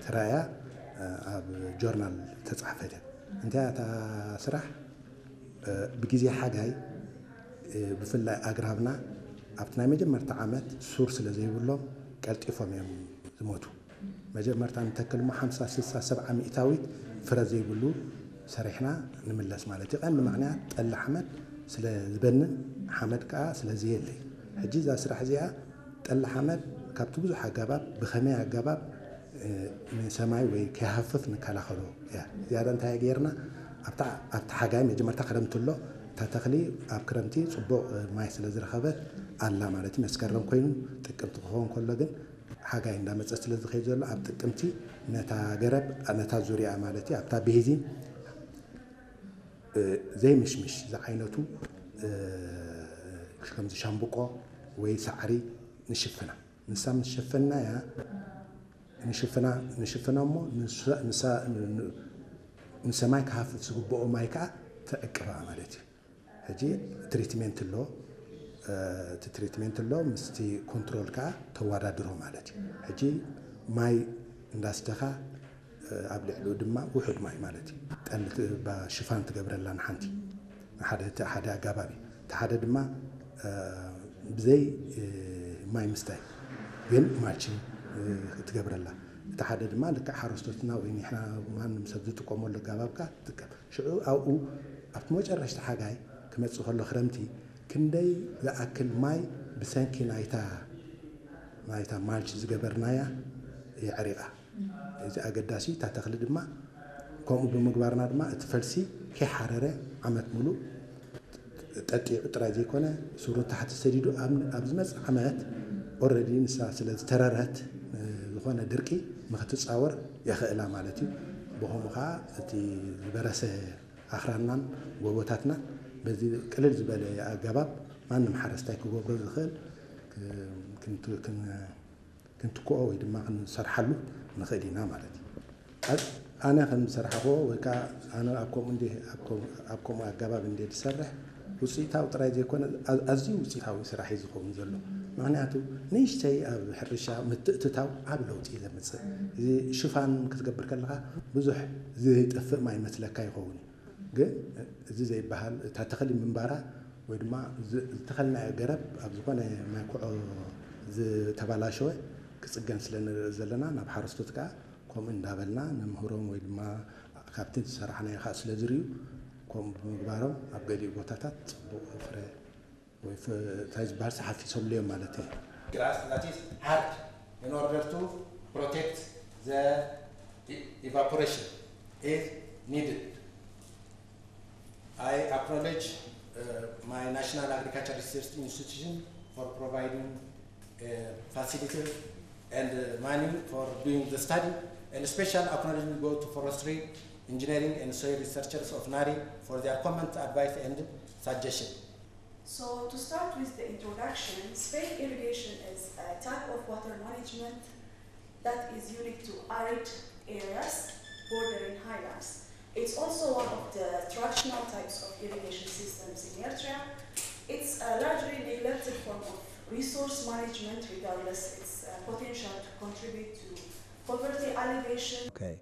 ተራእያ ኣብ ጆርናል ተጻሕፈት እያ። እንታይ እታ ስራሕ? ብግዜ ሓጋይ ብፍላይ ኣግራብና ኣብቲ ናይ መጀመርታ ዓመት ሱር ስለ ዘይብሎም ቀልጢፎም እዮም ዝሞቱ። መጀመርታ ንተክል እሞ ሓምሳ፣ ስሳ፣ ሰብዓ ሚእታዊት ፍረ ዘይብሉ ሰሪሕና ንምለስ ማለት እዩ። ቀንዲ ምኽንያት ጠሊ ሓመድ ስለ ዝበንን ሓመድ ከዓ ስለ ዘየለ እዩ። ሕጂ እዛ ስራሕ እዚኣ ጠሊ ሓመድ ካብቲ ብዙሕ ኣገባብ ብኸመይ ኣገባብ ንሰማይ ወይ ከይሃፍፍ ንከላኸሎ እያ። ዝያዳ እንታይ ጌርና ኣብታ ሓጋይ መጀመርታ ክረምቲ ኣሎ እታ ተኽሊ ኣብ ክረምቲ ፅቡቕ ማይ ስለ ዝረኸበት ኣላ ማለት እዩ። መስከረም ኮይኑ ጥቅምቲ ክኸውን ከሎ ግን ሓጋይ እንዳመፀ ስለ ዝኸይድ ዘሎ ኣብ ጥቅምቲ ነታ ገረብ ነታ ዙሪያ ማለት እዩ ኣብታ ቤዚን ዘይምሽምሽ ዝዓይነቱ ከምዚ ሻምብቆ ወይ ሳዕሪ ንሽፍና። ንሳ ምስ ሸፈናያ ንሽፍና ንሽፍና እሞ ንሳ ንሰማይ ክሃፍፍ ዝግብኦ ማይ ከዓ ተዕቅባ ማለት እዩ። ሕጂ ትሪትሜንት ኣሎ እቲ ትሪትሜንት ኣሎ ምስቲ ኮንትሮል ከዓ ተወዳድሮ ማለት እዩ። ሕጂ ማይ እንዳስተኻ ኣብ ልዕሊኡ ድማ ውሑድ ማይ ማለት እዩ። ጠሊ ሽፋን ትገብረላ ንሓንቲ ሓደ ኣጋባቢ እቲ ሓደ ድማ ብዘይ ማይ ምስታይ ግን ማልቺን ትገብረላ እቲ ሓደ ድማ ልክዕ ሓረስቶትና ወይ ንሕና ማንም ሰብ ዝጥቀመሉ ኣጋባብካ ትጥቀም ሽዑ ኣብኡ ኣብቲ መጨረሽቲ ሓጋይ ክመፅእ ከሎ ክረምቲ ክንደይ ዝኣክል ማይ ብሰንኪ ናይታ ናይታ ማልች ዝገበርናያ የዕሪቓ። እዚ ኣገዳሲ እታ ተኽሊ ድማ ከምኡ ብምግባርና ድማ እቲ ፈልሲ ከይሓረረ ዓመት ሙሉእ ጠጢዑ ጥራይ ዘይኮነ ሱሩ ታሕቲ ሰዲዱ ኣብ ዝመፅእ ዓመት ኦረዲ ንሳ ስለ ዝተረረት ዝኾነ ድርቂ ንክትፃወር የኽእላ ማለት እዩ። ብኸምኡ ከዓ እቲ ዝበረሰ ኣኽራንናን ጎቦታትና በዚ ቅልል ዝበለ ኣገባብ ማንም ሓረስታይ ክገብሮ ዝኽእል ክንትክኦ ወይ ድማ ክንሰርሓሉ ንኽእል ኢና ማለት እዩ። ኣነ ከም ዝሰራሕኽዎ ወይ ከዓ ኣነ ኣብ ከምኡ እንደ ኣብ ከምኡ ኣገባብ እንደ ዝሰርሕ ውፅኢታዊ ጥራይ ዘይኮነ ኣዝዩ ውፅኢታዊ ስራሕ እዩ ዝኸውን ዘሎ። ምክንያቱ ንእሽተይ ኣብ ሕርሻ ምትእትታው ዓብ ለውጢ እዩ ዘምፅእ። እዚ ሽፋን ክትገብር ከለካ ብዙሕ ዝጠፍእ ማይ መስለካ ይኸውን እዩ። ግን እዚ ዘይበሃል እታ ተኽሊ ምንባራ ወይ ድማ ዝተኸልናዮ ገረብ ኣብ ዝኾነ ማይ ኩዖ ዝተባላሸወ ክፅገን ስለ ንርኢ ዘለና ናብ ሓረስቶት ከዓ ከምኡ እንዳበልና ንምህሮም ወይ ድማ ካብቲ ዝሰራሕናዮ ከዓ ስለ ዝርእዩ ከምኡ ብምግባሮም ኣብ ገሊኡ ቦታታት ፅቡቕ ፍረ ወይ እንታይ ዝበሃል ሓፊሶምሉ እዮም ማለት እዩ። Grass that is hard in order to protect the evaporation is needed. I acknowledge uh, my National Agriculture Research Institution for providing uh, facilities and uh, money for doing the study, and special acknowledgement go to forestry, engineering and soil researchers of Nari for their comment, advice and suggestion. So to start with the introduction, spade irrigation is a type of water management that is unique to arid areas bordering highlands. It's also one of the traditional types of irrigation systems in Eritrea. It's a largely neglected form of resource management regardless its uh, potential to contribute to poverty alleviation. Okay.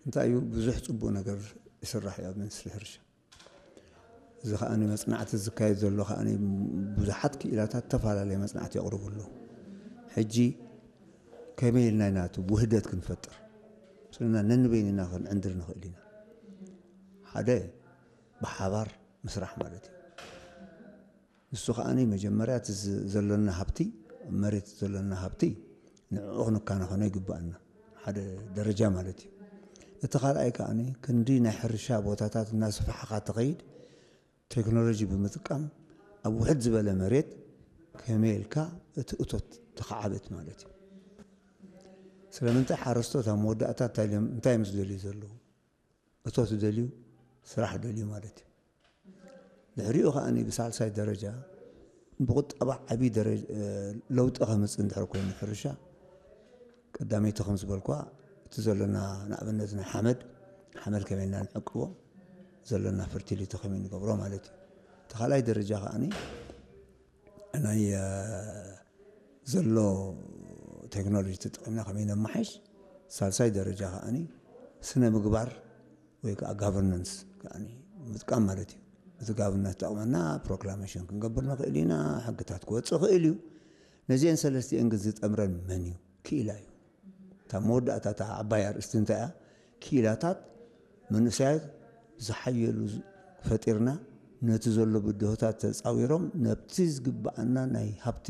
እንታይ እዩ ብዙሕ ፅቡቅ ነገር ይስራሕ እዩ ኣብ ሚኒስትሪ ሕርሻ። እዚ ከኣ መፅናዕቲ ዝካየድ ዘሎ ከኣ ብዙሓት ክኢላታት ተፈላለየ መፅናዕቲ የቕርቡ ኣለዉ። ሕጂ ከመይ ኢልና ኢና እቲ ውህደት ክንፈጥር ስልና ነንበይንና ክንዕንድር ንኽእል ኢና። ሓደ ብሓባር ምስራሕ ማለት እዩ። ንሱ ከኣ መጀመርያ እቲ ዘሎና ሃብቲ መሬት ዘሎና ሃብቲ ንዕኡ ክንከናኸኖ ይግብኣና ሓደ ደረጃ ማለት እዩ። እቲ ካልኣይ ከኣ ክንዲ ናይ ሕርሻ ቦታታት እናሰፋሕኻ ትኸይድ ቴክኖሎጂ ብምጥቃም ኣብ ውሕድ ዝበለ መሬት ከመይ ኢልካ እቲ እቶት ተኸዓብት ማለት እዩ። ስለምንታይ ሓረስቶት ኣብ መወዳእታ እንታይ ምስ ደልዩ ዘለዉ እቶት ደልዩ ስራሕ ደልዩ ማለት እዩ። ድሕሪኡ ከኣ ብሳልሳይ ደረጃ ብቁጠባ ዓብዪ ለውጢ ከምፅእ እንድሕር ኮይኑ ሕርሻ ቀዳመይቲ ከም ዝበልኳ እቲ ዘለና ንኣብነት ናይ ሓመድ ሓመድ ከመይ ኢና ንዕቅቦ ዘለና ፈርቲሊቲ ከመይ ንገብሮ ማለት እዩ። እቲ ካልኣይ ደረጃ ከኣ ናይ ዘሎ ቴክኖሎጂ ተጠቒምና ከመይ ነማሓይሽ፣ ሳልሳይ ደረጃ ከዓኒ ስነ ምግባር ወይ ከዓ ጋቨርነንስ ከዓኒ ምጥቃም ማለት እዩ። እቲ ጋቨርነንስ ተጠቕመና ፕሮክላሜሽን ክንገብር ንኽእል ኢና፣ ሕግታት ክወፅእ ይኽእል እዩ። ነዚአን ሰለስቲአን ግን ዝጠምረን መን እዩ? ክኢላ እዩ። እታ መወዳእታ እታ ዓባይ ኣርእስቲ እንታይ እያ? ክኢላታት መንእሰያት ዝሓየሉ ፈጢርና ነቲ ዘሎ ብድሆታት ተፃዊሮም ነብቲ ዝግብኣና ናይ ሃብቲ